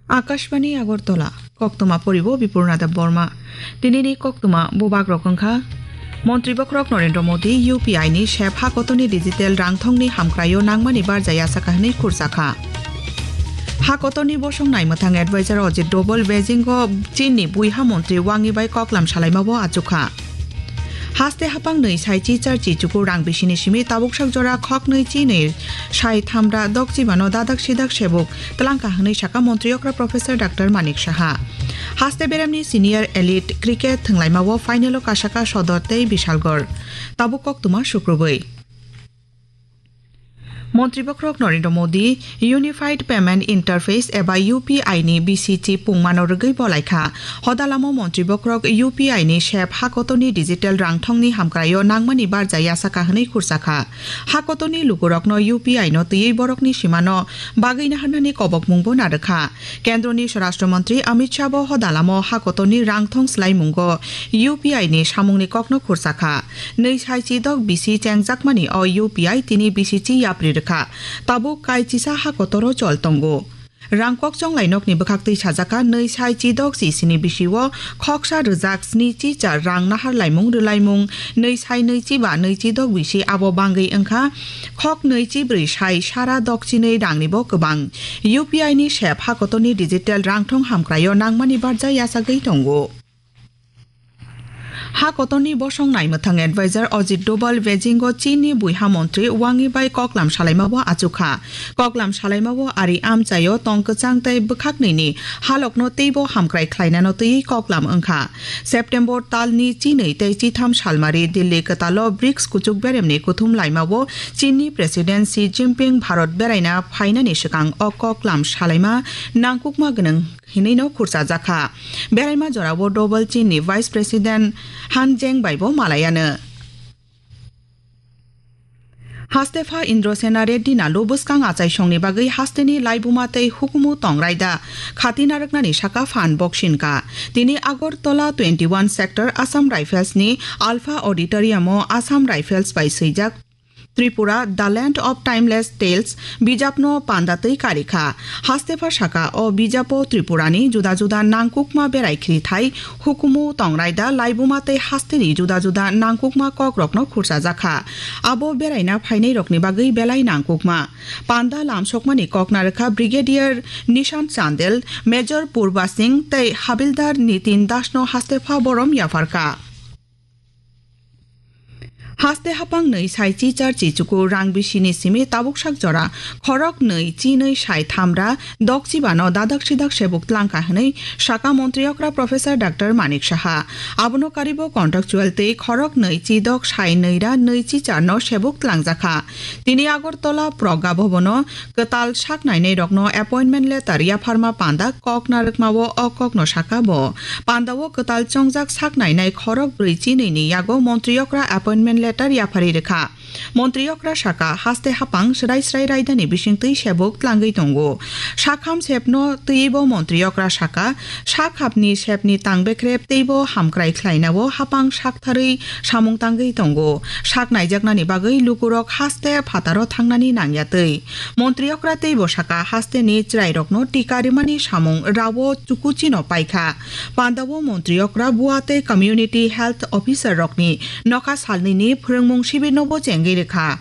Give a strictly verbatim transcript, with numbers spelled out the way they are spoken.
Akashbani Agartala, koktwma poribo Bipurna Debbarma. Tinini koktwma bubagrok wngkha: Montri bokhorok Narendra Modi U P I ni sep hakotoni digital rangthongni hamkraio nangmani barjaya saka hwnwi khursa kha. Hakotoni bosong naimwthang advisor Ajit Doval Beijing o Chinni buiha montri Wang Yi bai koklam salaimao achukha. Haste hapang nwi sai chi char chi chuku rang bisini simi tabuk sak jora khok nwi chi nwi sai thamra dok chibano dadak sidak sebuk twlangkha hwnwi saka montri okra Professor Doctor Manik Saha. Haste beremni senior elite cricket thwnglaimao final o kasaka Sodor tei Bishalgarh. Tabuk koktwma sukrubwi. Montri bokhorok Narendra Modi Unified Payment Interface eba U P I ni B C chi pungmano rwgwi bolaikha. Hodalamo montri bokhorok U P I ni sep hakotoni digital rangthongni hamkraio nangmani barjaya saka hwnwi khursa kha. Hakotoni lukurokno U P I no twiwi borokni simano bagwi naharnani kobokmungbo narwkha. Kendroni Swarashtra Montri Amit Shah bo hodalamo hakotoni rangthong swlaimungo U P I ni samungni kokno khursa kha. Nwi sai chi dok bisi chengjakmani o U P I tini bisi chi yapri rwkha. Tabuk kai chisa hakotoro chol tongo. Rang kokchong lainokni bwkhaktwi sajaka nwi sai chi dok chi sini bisio khoksa rwjak sni chi char rang nahar laimung rwlaimung nwi sai nwi chi ba nwi chi dok bisi abo bangwi wngkha khok nwi chi brwi sai sara dok chi nwi rangnibo kwbang. U P I ni sep hakotoni digital rangthong hamkraio nangmani barja yachagwi tongo. Hakotoni bosong naimwthang advisor Ajit Doval Beijing o Chinni buiha montri Wang Yi bai koklam salaimao achukha. Koklam salaimao ari amchaio tong kwchang tei bwkhaknwini halokno teibo hamkrai khlainano twiwi koklam wngkha. September talni chinwi tei chitham salmari Delhi kwtalo brics kuchuk beremni kuthum laimao Chinni President Xi Jinping Bharat beraina phainani swkang o koklam salaima nangkukma gwnang hinwino khurchajakha. Beraima jorao Doval Chinni Vice President Han Zheng baibo malayano. Hastepha Indrasena Reddy Nalu bwskang achaisongni bagwi hasteni laibuma tei hukumu tongrai da khati narwknani saka phan boksinka. Tini Agartala twenty one sector Assam Rifles ni Alpha Auditorium o Assam Rifles bai swijak Tripura, The Land of Timeless Tales bijapno panda twi karikha. Hastepha saka o bijapo Tripurani juda juda nangkukma berai khirithai, hukumu, tongraida, laibuma tei hasteni juda juda nangkukma kokrokno khurchajakha. Abo beraina phainairokni bagwi belai nangkukma. Panda lamsokmani kok narwkha Brigadier Nishant Chandel, Major Purba Singh tei Habildar Nitin Dasno hastepha borom yapharkha. Haste hapang nwi sai chi char chi chuku rang bisini simi tabuk sak jora khorok nwi chi nwi sai thamra dok chibano dadak sidak sebuk tlangkha hwnwi saka montri okra Professor Doctor Manik Saha. Abono karibo contractual tei khorok nwi chi dok sai nwi ra nwi chi charno sebuk tlangjakha. Tini Agartala Pragya Bhavan o kwtal sak nainai rokno appointment letter yapharma panda kok narwkmao o kokno saka bo. Pandao kwtal chongjak sak nainai khorok brwi chi nwi ni yago montri okra appointment letter yaphari rwkha. Montri okra saka haste hapang srai srai raidani bisingtwi sebuk tlangwi tongo. Sakham sepno twibo montri okra saka sak hapni sepni tang bekrep teibo hamkrai khlainao hapang sak tharwi samung tangwi tongo. Sak naijaknani bagwi lukurok haste phataro thangnani nangya twi. Montri okra teibo saka hasteni chwrairokno tika rimani samung rao chukuchino paikha. Pandao montri okra bua tei community health officer rokni nokha salnwini phwrwngmung sibirnobo chengwi rwkha.